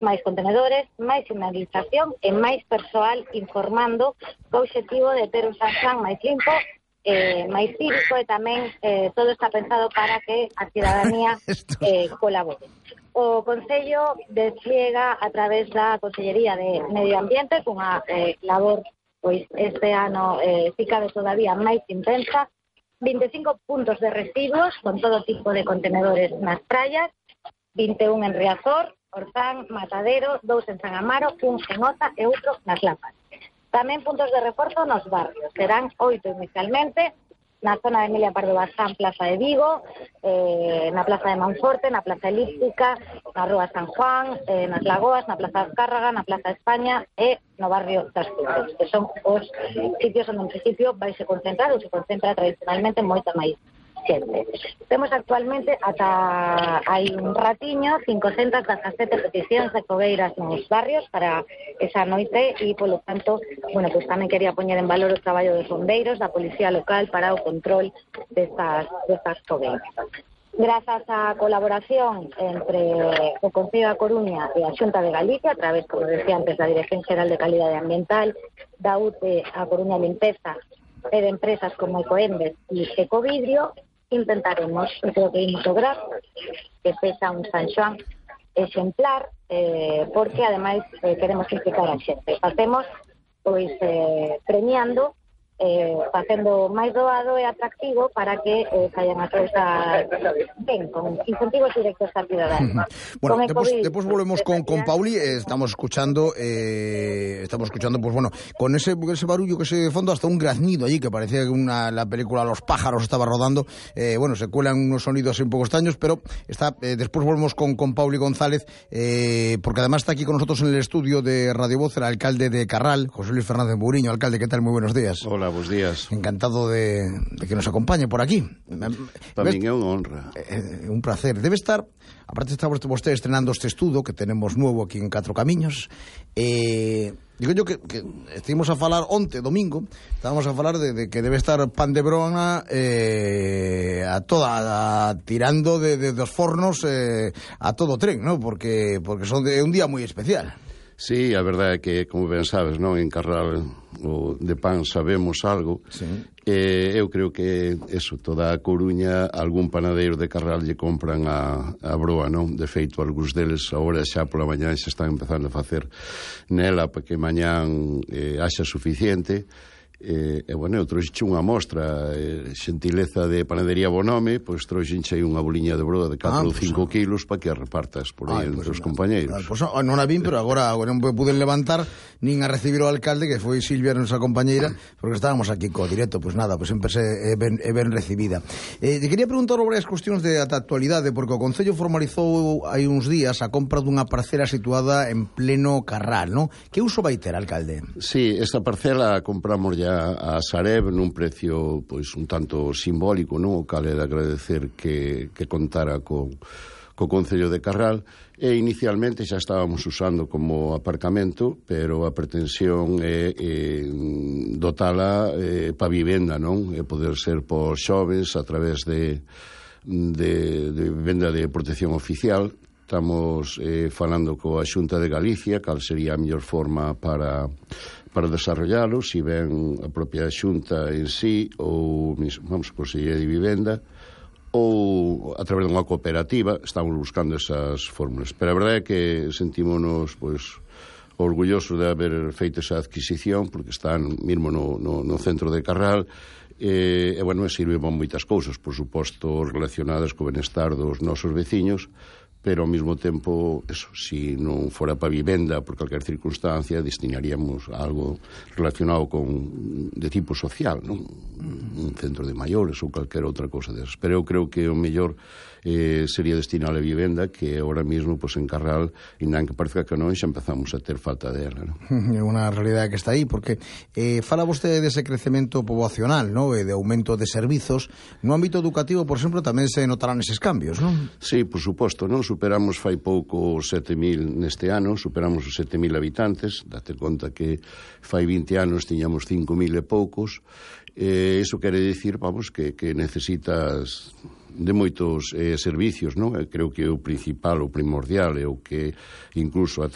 máis contenedores, máis sinalización e máis persoal informando co obxectivo de ter un San Xoán máis limpo, máis cívico, e tamén todo está pensado para que a cidadanía colabore. O Concello despliega a través da Consellería de Medio Ambiente cunha labor pois este ano si cabe todavía máis intensa, 25 puntos de residuos con todo tipo de contenedores nas praias, 21 en Riazor, Orzán, Matadero, 2 en San Amaro, 1 en Oza e outro nas Lapas. Tamén puntos de reforzo nos barrios, serán 8 inicialmente, na zona de Emilia Pardo Bazán, Plaza de Vigo, na Plaza de Monforte, na Plaza Elíptica, na Rúa San Juan, nas Lagoas, na Plaza de Azcárraga, na Plaza de España e no barrio das Flores, que son os sitios onde en principio vai se concentrar ou se concentra tradicionalmente moita máis xente. Temos actualmente ata hai un ratiño 517 peticións de fogueiras nos barrios para esa noite e, polo tanto, bueno, pues tamén quería poñer en valor o traballo dos bombeiros, da policía local para o control destas fogueiras. Grazas á colaboración entre o Concello da Coruña e a Xunta de Galicia, a través, como decía antes, da Dirección Xeral de Calidade Ambiental, da UTE, a Coruña Limpeza, e de empresas como Ecoembes e Ecovidrio, intentaremos, eu creo que imos lograr que sexa un San Xoán exemplar, porque ademais queremos implicar a xente. Facemos pois premiando, facendo máis doado e atractivo para que saian a cousas ben, con incentivos directos á cidadanía. Bueno, después volvemos con Pauli, estamos escuchando, pues bueno, con ese barullo que se de fondo, hasta un graznido allí, que parecía que la película Los pájaros estaba rodando, bueno, se cuelan unos sonidos un poco extraños, pero después volvemos con Pauli González, porque además está aquí con nosotros en el estudio de Radio Voz el alcalde de Carral, José Luis Fernández Muriño. Alcalde, ¿qué tal? Muy buenos días. Hola, buenos días. Encantado de que nos acompañe por aquí. Para min é unha honra. Un placer. Debe estar, aparte está vostede estrenando este estudo que tenemos nuevo aquí en Catro Camiños. Digo yo que estivemos a falar onte, domingo, estábamos a falar de que debe estar pan de brona tirando de dos fornos a todo tren, ¿no? Porque son de un día moi especial. Sí, a verdade é que, como ben sabes, non, en Carral o de pan sabemos algo. Sí. Eu creo que eso, toda a Coruña, algún panadeiro de Carral lle compran a broa, non? De feito, algúns deles agora xa pola mañá xa están empezando a facer nela para que mañán haxa suficiente. Bueno, eu trouxe unha mostra, xentileza de Panadería Bonome, pois trouxenche unha boliña de broa de 4 ou 5 kilos para que a repartas por aí entre os compañeiros. Pois non a vin, pero agora non pude levantar nin a recibir o alcalde, que foi Silvia, nosa compañeira, porque estábamos aquí co directo. Pois nada, pois sempre é ben recibida. Te quería preguntar sobre as cuestións de actualidade, porque o Concello formalizou hai uns días a compra dunha parcela situada en pleno Carral, non? Que uso vai ter, alcalde? Sí, esta parcela a compramos ya a Sareb nun precio pois un tanto simbólico, non? O cal é de agradecer que contara co Concello de Carral, e inicialmente xa estábamos usando como aparcamento, pero a pretensión é dotala para vivenda, non? E poder ser por xoves a través de vivenda de protección oficial. Estamos falando coa Xunta de Galicia cal sería a mellor forma para desarrollalo, si ben a propia Xunta en sí ou, vamos, Consellería de Vivenda ou a través dunha cooperativa. Estamos buscando esas fórmulas, pero a verdade é que sentímonos pois orgullosos de haber feito esa adquisición, porque están mesmo no centro de Carral, e bueno, sirve para moitas cousas, por suposto relacionadas co benestar dos nosos veciños, pero ao mesmo tempo, eso, si non fora para vivenda por calquer circunstancia, destinaríamos a algo relacionado de tipo social, non? Un centro de maiores ou calquer outra cousa desas. Pero eu creo que o mellor sería destinar a vivenda, que ahora mismo, pues, en Carral, indan que parezca que non, xa empezamos a ter falta dela, non? É unha realidade que está aí, porque fala vostede dese crecemento poboacional, non? E de aumento de servizos. No ámbito educativo, por exemplo, tamén se notarán eses cambios, non? Sí, por suposto, non? Superamos fai pouco 7.000 neste ano, superamos os 7.000 habitantes, date conta que fai 20 anos tiñamos 5.000 e poucos, iso quere dicir, vamos, que necesitas moitos servicios, non? Creo que o principal, o primordial, é o que incluso a